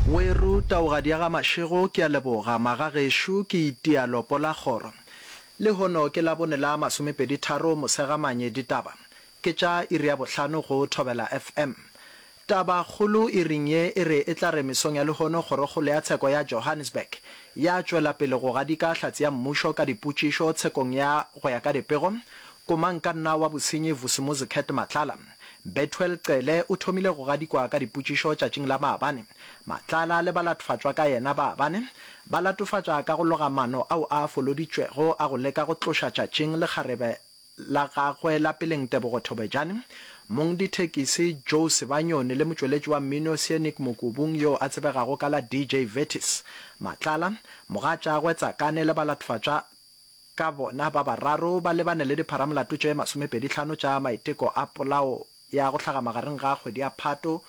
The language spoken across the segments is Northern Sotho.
Weru, Taugadi ya ga Mashego, ke a leboga. Magagešo, ke itia lopo la kgoro. Lehono ke Labone la masomepeditharo Mosegamanye, ditaba ke tša iri ya bohlano go Thobela FM. Taba kgolo iring ye e re e tla re mesong ya lehono Kgorokgolo ya Tsheko ya Johannesburg ya tšwela pele go gadika hlatse ya mmušo ka dipotšišo tshekong ya go ya ka dipego komangkanna wa bosenyi Vusimuzi Cat Matlala. Bethuel Cele o thomile go gadikwa ka dipotšišo tšatšing la maabane. Matlala le balatfatšwa ka yena ba bane ba latofatša ka go loga maano ao a foloditšwego a go leka go tloša tšatšing lekgarebe la gagwe la peleng Tebogo Thobejane, mongdithekisi Joe Sebanyoni le motšweletši wa mmino Seanic Mokubung yoo a tsebegago ka la DJ Vertis. Matlala, mogatšagwe Tsakane le balatfatšwa ka bona ba bararo ba lebane le dipharamolato tše masomepedihlano tša maiteko a polao ya go hlaga magareng ga kgwedi ya Phato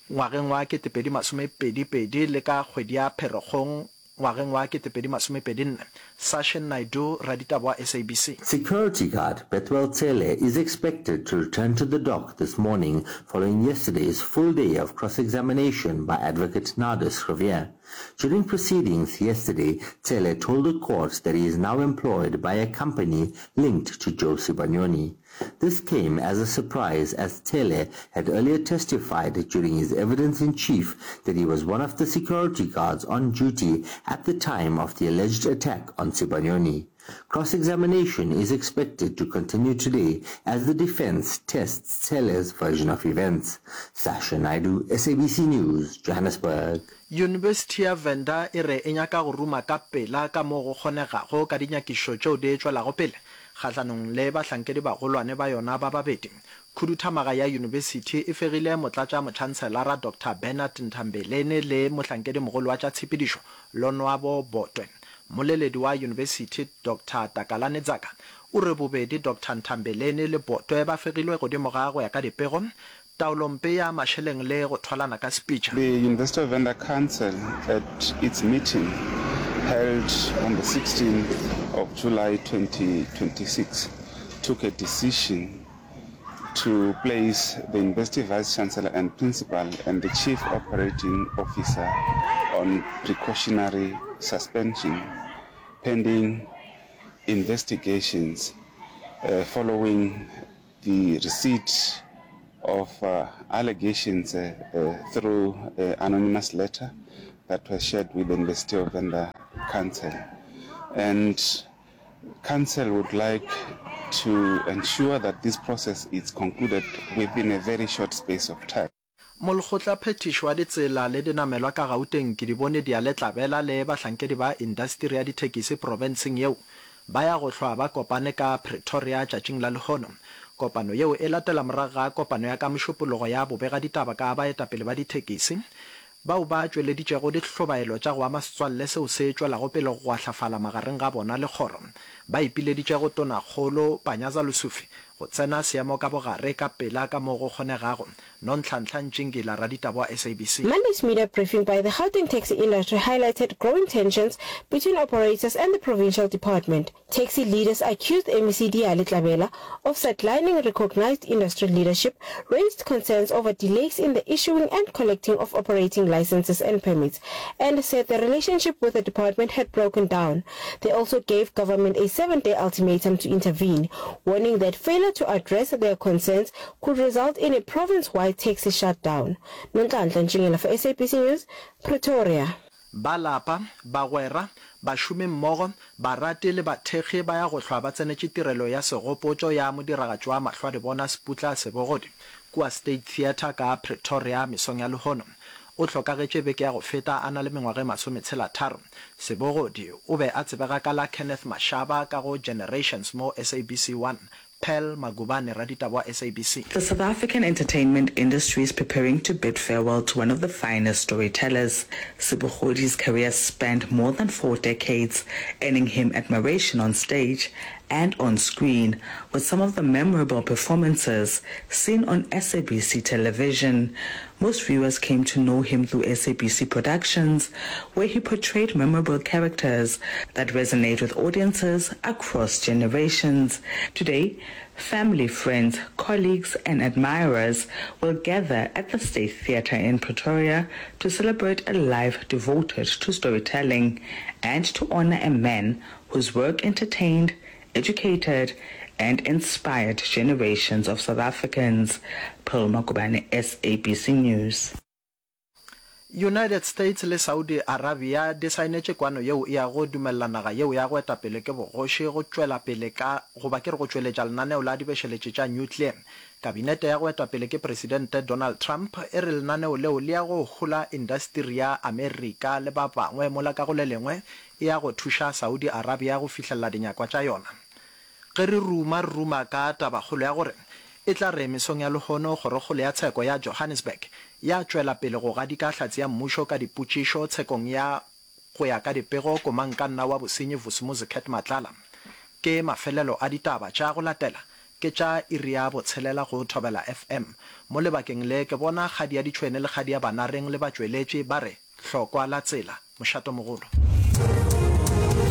ngwageng wa 2022 le ka kgwedi ya Pherekgong ngwageng wa 2024. Sashen Naidoo, raditaba wa SABC. Security guard Bethuel Cele is expected to return to the dock this morning following yesterday's full day of cross-examination by advocate Nardus Riviere. During proceedings yesterday, Cele told the court that he is now employed by a company linked to Joe Sibanyoni. This came as a surprise as Tele had earlier testified during his evidence in chief that he was one of the security guards on duty at the time of the alleged attack on Sibanyoni. Cross-examination is expected to continue today as the defense tests Cele's version of events. Sasha Naidu, SABC News, Johannesburg. Yunibesithi ya Venda e re e nyaka go ruma ka pela ka moo go kgonegago ka dinyakišišo tšeo di tšwelago pele kgahlanong le bahlankedibagolwane ba yona ba babedi. Khuduthamaga ya yunibesithi e fegile Motlatšamotšhanselara Doctor Bernard Nthambeleni le mohlankedimogolo wa tša tshepedišo Lonwabo Botwe. Mmoleledi wa yunibesithi Doctor Takalani Dzaka o re bobedi Doctor Nthambeleni le Botwe ba fegilwe godimo ga go ya ka dipego, taolompe ya mašeleng le go thwalana ka sepitša. The University of Venda Council at its meeting held on the 16th of July 2026 took a decision to place the University Vice-Chancellor and Principal and the Chief Operating Officer on precautionary suspension pending investigations following the receipt of allegations through an anonymous letter that was shared with the University of Venda Council. And Council would like to ensure that this process is concluded within a very short space of time. Molekgotlaphethiši wa ditsela le dinamelwa ka Gauteng Kedibone Diale-Tlabela le bahlankedi ba indasteri ya dithekisi profenseng yeo ba ya go hlwa ba kopane ka Pretoria tšatšing la lehono. Kopano yeo e latela morago ga kopano ya ka Mošupologo ya bobegaditaba ka baetapele ba dithekisi bao ba tšweleditšego dihlobaelo tša go ama setswalle seo se tšwelago pele go gwahlafala magareng ga bona le kgoro. Ba ipileditše go Tonakgolo Panyaza Lesufi go tsena seemo ka bogare ka pela ka mo go kgonegago. Nonhlanhla Ntšingila, raditaba wa SABC. Monday's media briefing by the Gauteng taxi industry highlighted growing tensions between operators and the provincial department. Taxi leaders accused MEC Diale Tlabela of sidelining recognized industry leadership, raised concerns over delays in the issuing and collecting of operating licenses and permits, and said the relationship with the department had broken down. They also gave government a seven-day ultimatum to intervene, warning that failure to address their concerns could result in a province-wide taxi shutdown. Nonhlanhla Ntshingila for SABC News, Pretoria. Ba lapa, bagwera, bašomimmogo, barati le bathekgi ba ya go hlwa ba tsenetše tirelo ya segopotšo ya modiragatši wa mahlwadibona Sputla Sebogodi kua State Theatre ka Pretoria mesong ya lehono. O hlokagetše beke ya go feta a na le mengwaga e masometshela-tharo. Sebogodi o be a tsebega ka la Kenneth Mashaba ka go Generations mo SABC 1. Pearl Magubane, raditaba wa SABC. The South African entertainment industry is preparing to bid farewell to one of the finest storytellers. Sebogodi's career spanned more than four decades, earning him admiration on stage. and on screen, with some of the memorable performances seen on SABC television. Most viewers came to know him through SABC Productions, where he portrayed memorable characters that resonate with audiences across generations. Today, family, friends, colleagues and admirers will gather at the State Theatre in Pretoria to celebrate a life devoted to storytelling and to honor a man whose work entertained, educated and inspired generations of South Africans. Pearl Magubane, SABC News. United States le Saudi Arabia di saenetše kwano yeo e yago dumelela naga yeo ya go eta pele ke bogoši go tšwela pele ka goba ke re go tšweletša lenaneo la dibešeletši tša nuclear. Kabinete ya go etwa pele ke Presidente Donald Trump e re lenaneo leo le ya go hola indasteri ya Amerika le ba bangwe mola ka go le lengwe e ya go thuša Saudi Arabia go fihlelela dinyakwa tša yona. Ge re ruma re ruma ka tabakgolo ya gore e tla re mesong ya lehono Kgorokgolo ya Tsheko ya Johannesburg ya tšwela pele go gadika hlatse ya mmušo ka dipotšišo tshekong ya Go ya ka dipego, komangkanna wa bosenyi Vusumuzi Cat Matlala. Ke mafelelo a ditaba tša go latela ke tša iri ya botshelela go Thobela FM. Mo lebakeng le ke bona kgadi ya ditšhwene le kgadi ya banareng le batšweletši ba re hlokwa la tsela. Mošatomogolo.